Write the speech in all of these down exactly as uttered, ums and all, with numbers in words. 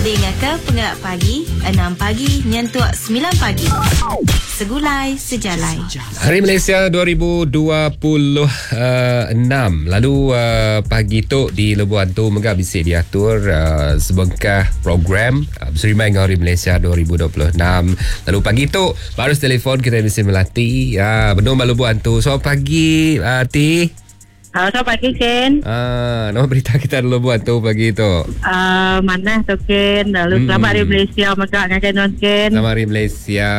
Dengar ke Pengerak Pagi enam pagi nyentuk sembilan pagi. Segulai Sejalai. Hari Malaysia dua ribu dua puluh enam. Lalu uh, pagi tu di Lubok Antu mega bisi diatur uh, sebengkah program uh, berserimai dengan Hari Malaysia dua ribu dua puluh enam. Lalu pagi tu baru telefon kita mesti melati uh, benung ba Lubok Antu. So pagi uh, Ti. Uh, selamat pagi Ken. Ah, nama berita kita dulu buat tu pagi tu. Ah, uh, mana tu Ken? Lalu hmm. selamat hari Malaysia maka ngagai non Ken. Selamat hari Malaysia.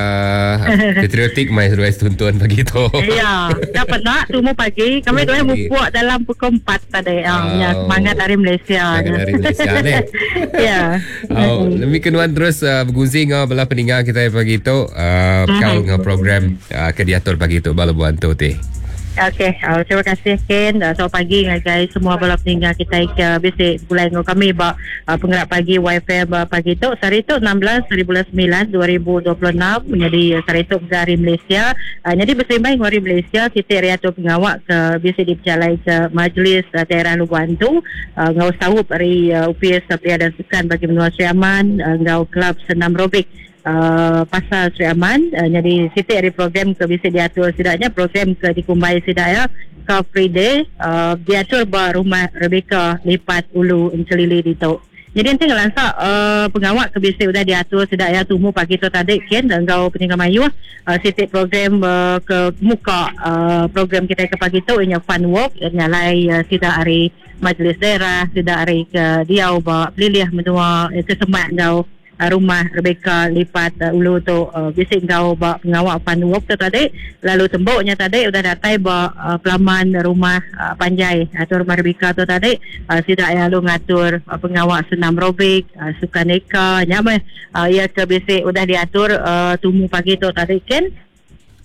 Patriotik mai seduai tuntun pagi tu. Ya, dapat nak tumu pagi. Kami tu mupuk dalam pukul empat tadi. Oh. Uh, ya, semangat hari Malaysia. Semangat hari Malaysia ni. Ya. Oh, demi kenuan terus uh, berguzi ngau bala peninggal kita pagi tu uh, kau ngau program uh, ke diatur pagi tu bala buan tu ti. Okey, uh, terima kasih Ken. Uh, selamat pagi guys semua bala peninggal kita ke bisi bulan ngau kami ba uh, Penggerak Pagi Y F M uh, pagi tu. Hari tu enam belas hari bulan sembilan dua ribu dua puluh enam menjadi hari tu hari Malaysia. Uh, jadi berserimbai hari Malaysia kita riatur pengawak ke bisi diperjalai ke Majlis uh, Daerah Lubok Antu uh, ngau saup hari uh, U P S Belia dan Sukan bagi Menua Sri Aman uh, ngau Kelab Senam Robik Uh, Pasar Sri Aman. Uh, jadi sitik hari program ke bisa diatur setidaknya program ke dikumbai setidaknya Car Free Day uh, diatur ba rumah Rebecca Lipat Ulu Encelili ditu. Jadi nanti ngelansak uh, pengawak ke bisa sudah diatur setidaknya tumu pagi tu tadi Ken dan kau peninggal mayu uh, sitik program uh, ke muka uh, program kita ke pagi tu inya fun walk nyalai uh, sidak hari majlis daerah sidak hari ke diau ba pelilih menua eh, kesemak kau rumah Rebecca Lipat uh, Ulu tu uh, bisik kau ba pengawak fun walk tu tadi. Lalu temboknya tadi udah datai ba uh, pelaman rumah uh, panjai atau rumah Rebecca tu tadi uh, sidak yang lu ngatur uh, pengawak senam robik uh, sukaneka nyamai uh, ia ke bisik udah diatur uh, tumu pagi tu tadi Ken.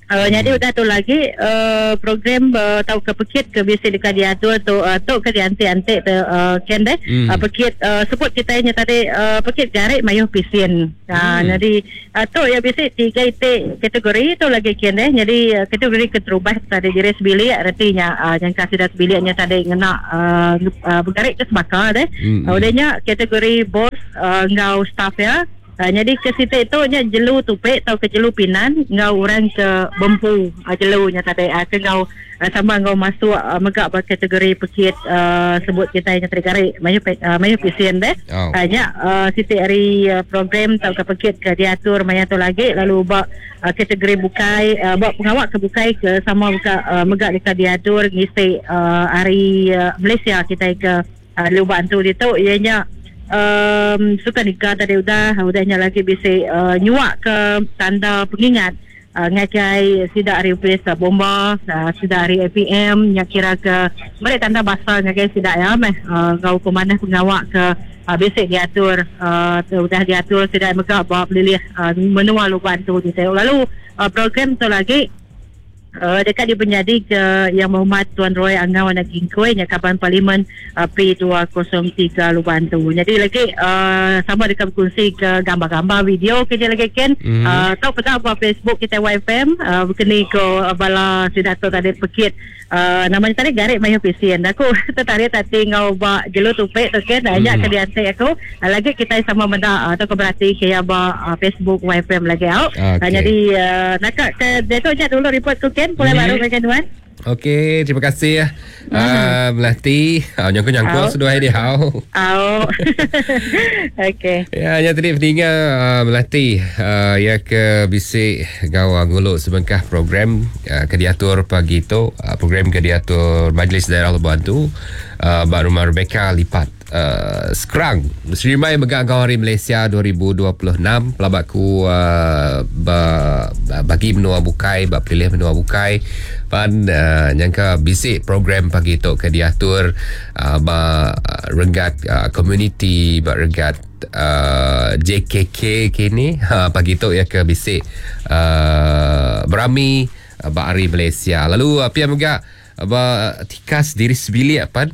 Uh, hmm. Jadi udah tu lagi uh, program uh, tau ke pekit ke biasa dekat diatur tu uh, tu ke diantik-antik tu uh, Ken deh. Hmm. Uh, pekit uh, sebut kita nya tadi uh, pekit garik mayuh pisin. Uh, hmm. Jadi uh, tu ya biasa tiga itik kategori tu lagi Ken deh. Jadi uh, kategori keterubah tadi diri sebilik artinya uh, yang kasih dah sebiliknya tadi ngena uh, uh, bergarik ke sebaka deh. Hmm. Uh, udahnya kategori bos uh, ngau staff ya. Uh, jadi ke situ itu nya jelu tupik atau ke jelu pinan ngau orang ke bempu uh, jelu nya tadi uh, ke ngau uh, sama ngau masuk uh, megak ber kategori pekit uh, sebut kita nya tadi garik mayu uh, mayu pisin deh. Oh. Uh, nya uh, situ hari uh, program atau ke pekit ke diatur maya tu lagi lalu bak uh, kategori bukai uh, bak pengawak ke bukai ke sama buka uh, megak dekat diatur ngisi uh, hari uh, Malaysia kita ke uh, Lubok Antu ditu ianya Um, suka nikah tadi udah udahnya lagi bisa uh, nyuak ke tanda pengingat uh, ngakai sidak hari U P S uh, bomba uh, sidak hari A P M yang kira ke mereka tanda basah ngakai sidak ya meh uh, kau ke mana pengawak ke uh, basic diatur uh, udah diatur sidak megak bawa pelilih uh, menua Lubok Antu di lalu uh, program tu lagi Uh, dekat di penjadi ke Yang Berhormat Tuan Roy Angau anak Gingkoi nya kaban parlimen uh, P dua kosong tiga Lubok Antu. Jadi lagi uh, sama dekat berkongsi ke gambar-gambar video kerja lagi Ken. Mm. Uh, tahu pernah buat Facebook kita Y F M uh, berkeni ke uh, bala sidato tadi pekit uh, namanya tadi garik mayu pisien. Aku tertarik tadi ngau ba jelu tupik tu Ken. Ajak mm. ke diantik aku. Uh, lagi kita sama benda uh, atau berarti ke ya ba uh, Facebook Y F M lagi out. Okay. Uh, jadi uh, nak ke deto je dulu report ku Ken. Boleh hmm. baru macam tuan. Okey, terima kasih ya. Uh, Melati, uh, nyangku-nyangku sudah dia hau. Au. Okey. Ya, nya tadi peninggal uh, Melati uh, ya ke bisik gawa nguluk sebengkah program uh, ke diatur pagi tu, uh, program ke diatur Majlis Daerah Lubok Antu uh, bak rumah Rebecca Lipat. Uh, sekarang Serimai Megak Hari Malaysia dua ribu dua puluh enam pelabatku uh, ba, bagi menua bukai ba pilih menua bukai pan uh, nyangka bisik program pagi tu ke diatur uh, ba renggat uh, community ba renggat uh, J K K kini ha, pagi tu ya ke bisik uh, berami uh, ba hari Malaysia lalu uh, pia megak Ba tikas diri sebilik pan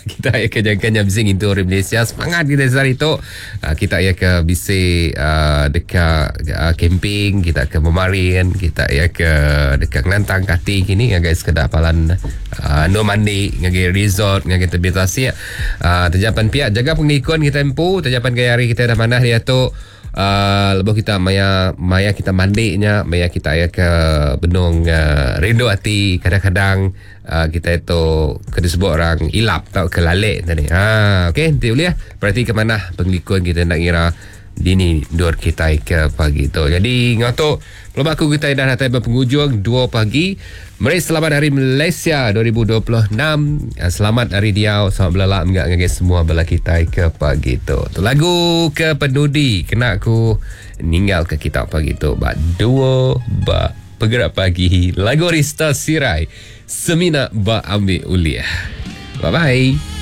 kita ya ke jangka nya bising itu orang Malaysia semangat kita sehari tu. Kita ya ke bisi uh, dekat uh, camping, kita ke memarin, kita ya ke dekat ngelantang kati kini ngagai sekedar palan uh, no mandi, ngagai resort, ngagai tebi tasik. Uh, terjapan pihak jaga pengikun kita empu, terjapan gaya hari kita dah manah dia tu. Uh, lebuh kita maya maya kita mandinya, maya kita ya ke benung uh, rindu hati kadang-kadang uh, kita itu kena sebut orang ilap atau ke lalik tadi. Ha, okey, nanti boleh berarti ke mana pengikun kita nak kira dini dua kita ke pagi tu. Jadi ngatuk pelabak aku kita dah datang berpenghujung dua pagi. Meri selamat hari Malaysia dua ribu dua puluh enam. Selamat hari diau, selamat belalak enggak ngagai semua bala kita ke pagi tu. Tu lagu ke penudi kena aku ninggal ke kita pagi tu. Ba dua ba pergerak pagi lagu Rista Sirai Semina ba ambil uliah. Bye bye.